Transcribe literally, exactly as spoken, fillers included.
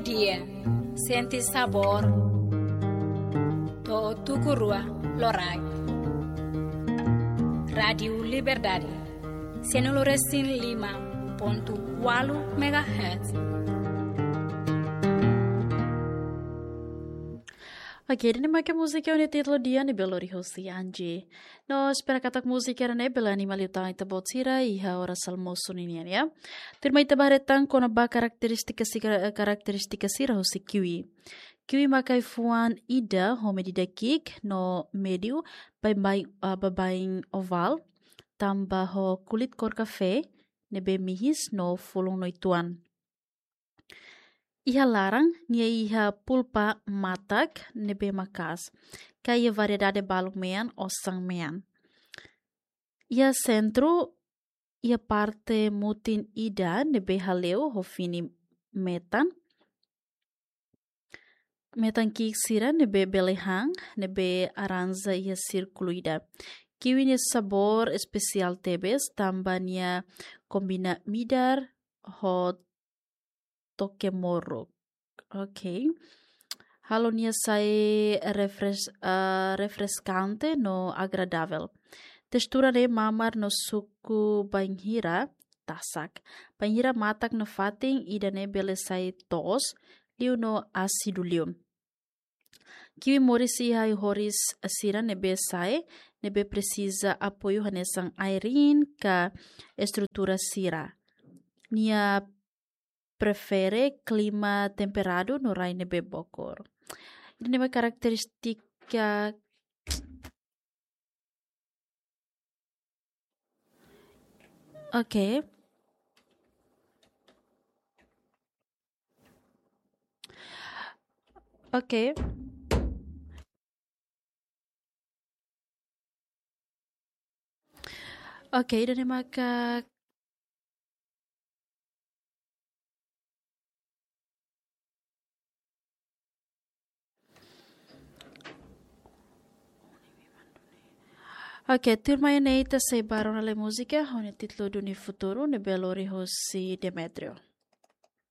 Dia, sente sabór. To'o tuku rua loraik. Rádiu Liberdade, sianulu resin lima pontu ualu megahertz. Oke, ida-ne'e maka múzika ho nia títulu Dia ne'ebé lori hosi Angie. No espera katak múzika ida-ne'e bele anima liután ita-boot sira iha oras almosu ninian, ya. Tuirmai ita bá haree tan kona-ba karakterístika sira, karakterístika sira hosi kiwi. Kiwi mak ai-fuan ida ho medida ki'ik no médiu, baibain, ah, baibain ovál, tanba ho kulit kór kafé, ne'ebé mihis no fulun no uitoan. Iha laran, nia iha pulpa matak ne'ebé maka'as, ka iha variedade balun mean, osan mean. Iha sentru, iha parte mutin ida ne'ebé hale'u ho fini metan. Metan ki'ik sira ne'ebé bele han, ne'ebé arranja iha sírkulu ida. Kiwi nia sabór espesiál tebes, tanba nia kombina midar ho toke moruk. Oke. Halo nia sai refres-, ah, refreskante no agradável. Testura ne'e mamar no suku bainhira tasak. Bainhira matak nafatin, ida-ne'e bele sai toos liu no ásidu liu. Kiwi moris iha ai-horis sira ne'ebé sa'e, ne'ebé presiza apoiu hanesan aireen ka estrutura sira. Nia prefere klima temperadu no rai ne'ebé bokur. Ida-ne'e mak karakterístika. Oke. Oke. Oke, ida-ne'e maka Oke, tuirmai ne'e ita sei bá rona lai múzika ho nia títulu Duni Futuru ne'ebé lori hosi Demetrio.